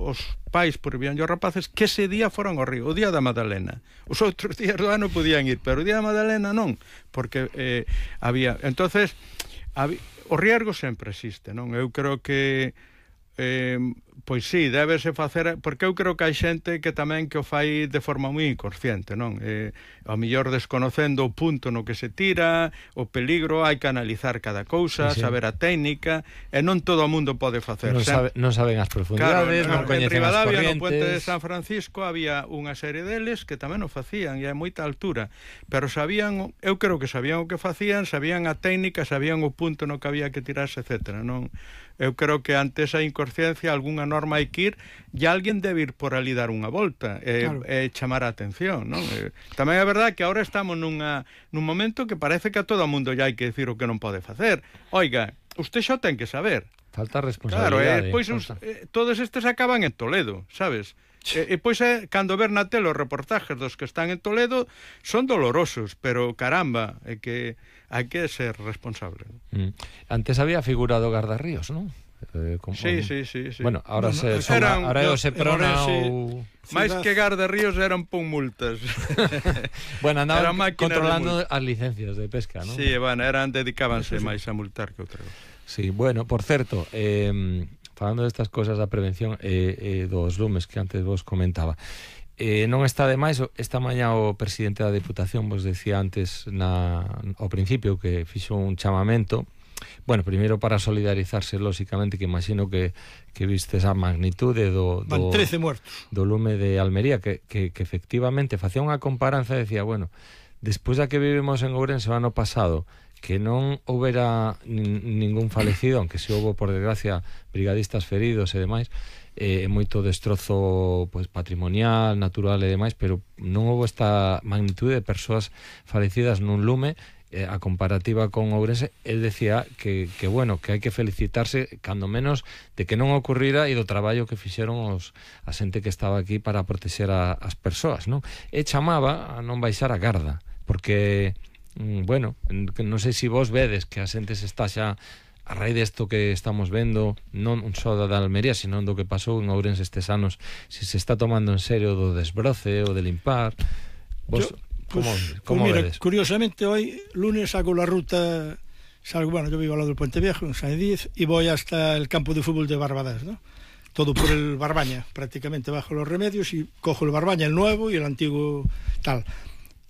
os pais prohibían os rapaces que ese día foran ao río, o día da Madalena. Os outros días do ano podían ir, pero o día da Madalena non, porque había... Entonces, o riesgo sempre existe, non? Eu creo que pois sí, débese facer, porque eu creo que hai xente que tamén que o fai de forma moi inconsciente, non? Ao mellor desconocendo o punto no que se tira, o peligro, hai que analizar cada cousa, sí, saber a técnica, e non todo o mundo pode facer. Non saben as profundidades, non coñecen as corrientes. No Puente de San Francisco había unha serie deles que tamén o facían, e a moita altura, pero sabían, eu creo que sabían o que facían, sabían a técnica, sabían o punto no que había que tirarse, etcétera, non? Eu creo que ante esa inconsciencia algunha norma hai que ir e alguén debe ir por ali dar unha volta e chamar a atención, non? Tamén é verdade que agora estamos nun momento que parece que a todo o mundo ya hai que decir o que non pode facer. Oiga, usted xa ten que saber. Falta responsabilidade. Claro, pois todos estes acaban en Toledo, sabes? E pois cando ver na tele os reportajes dos que están en Toledo son dolorosos, pero caramba, é que hai que ser responsable. Antes había figura do Gardarríos, non? Sí. Bueno, ahora é o Seprona ou... máis que Gardarríos eran pon multas. Bueno, andaban controlando as licencias de pesca, non? Sí, bueno, dedicábanse máis a multar que outra cosa. Sí, bueno, por certo, falando destas cosas da prevención dos lumes que antes vos comentaba, non está de máis, esta mañá o presidente da Deputación vos decía antes ao principio que fixo un chamamento, bueno, primeiro para solidarizarse lóxicamente, que imagino que viste esa magnitude do 13 muertos do lume de Almería, que efectivamente facía unha comparanza e decía, bueno, despois da que vivimos en Ourense o ano pasado, que non houbera ningún falecido, aunque se houbo, por desgracia, brigadistas feridos e demais, moito destrozo pues, patrimonial, natural e demais, pero non houbo esta magnitude de persoas falecidas nun lume. A comparativa con Ourense, el decía que bueno, que hai que felicitarse cando menos de que non ocurrira e do traballo que fixeron a xente que estaba aquí para protexer as persoas, non? E chamaba a non baixar a garda, porque bueno, non sei se vos vedes que a xente se está xa a raíz desto que estamos vendo, non só da Almería, sino do que pasou en Ourense estes anos, se está tomando en serio do desbroce ou de limpar. Vos ¿Cómo mira, vedes? Curiosamente hoy lunes hago la ruta, bueno, yo vivo al lado del Puente Viejo en San Díez y voy hasta el campo de fútbol de Barbadas, ¿no? Todo por el Barbaña, prácticamente bajo los Remedios, y cojo el Barbaña, el nuevo y el antiguo tal,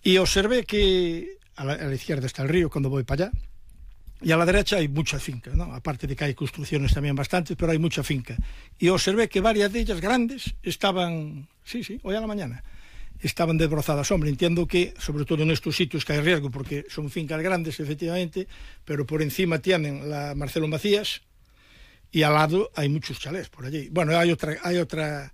y observé que a la izquierda está el río cuando voy para allá, y a la derecha hay mucha finca, ¿no? Aparte de que hay construcciones también bastantes, pero hay mucha finca, y observé que varias de ellas grandes estaban, hoy a la mañana estaban desbrozadas. Hombre, entiendo que, sobre todo en estos sitios que hay riesgo, porque son fincas grandes, efectivamente, pero por encima tienen la Marcelo Macías y al lado hay muchos chalés por allí. Bueno, hay otra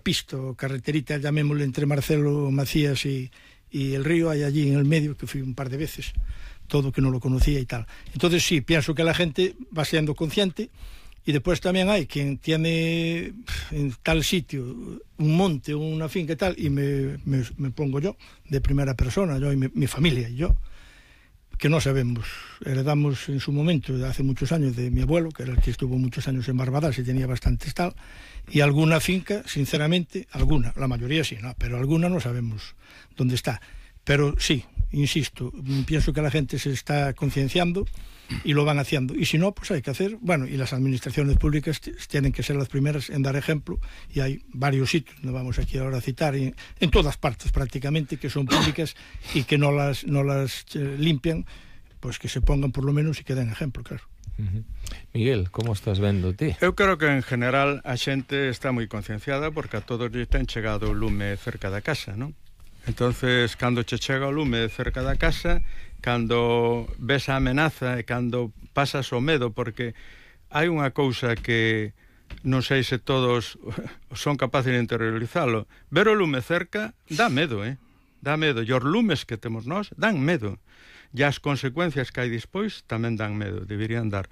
pista o carreterita, llamémosle, entre Marcelo Macías y el río, hay allí en el medio, que fui un par de veces, todo que no lo conocía y tal. Entonces sí, pienso que la gente va siendo consciente. Y después también hay quien tiene en tal sitio un monte o una finca y tal, y me pongo yo de primera persona, yo y mi familia y yo, que no sabemos, heredamos en su momento, hace muchos años, de mi abuelo, que era el que estuvo muchos años en Barbadas y tenía bastantes tal, y alguna finca, sinceramente, alguna, la mayoría sí, ¿no? Pero alguna no sabemos dónde está. Pero sí, insisto, pienso que la gente se está concienciando y lo van haciendo, y si no, pues hay que hacer, bueno, y las administraciones públicas tienen que ser las primeras en dar ejemplo, y hay varios sitios, no vamos aquí ahora a citar, en todas partes prácticamente, que son públicas y que no las limpian, pues que se pongan por lo menos y que den ejemplo, claro. Miguel, como estás vendo ti? Eu creo que en general a xente está moi concienciada, porque a todos lle ten chegado o lume cerca da casa, non? Entonces, cando che chega o lume cerca da casa, cando ves a amenaza e cando pasas o medo, porque hai unha cousa que non sei se todos son capaces de interiorizalo. Ver o lume cerca dá medo, dá medo. E os lumes que temos nós dan medo. E as consecuencias que hai despois tamén dan medo, deberían dar.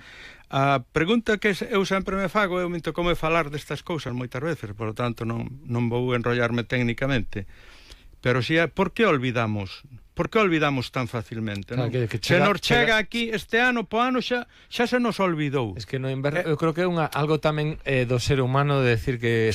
A pregunta que eu sempre me fago, eu minto como falar destas cousas moitas veces, por lo tanto non vou enrollarme técnicamente, pero si por que olvidamos? Por que olvidamos tan facilmente, non? Se nos chega aquí este ano, po ano xa se nos olvidou. Es que no inverno, eu creo que é algo tamén do ser humano de decir que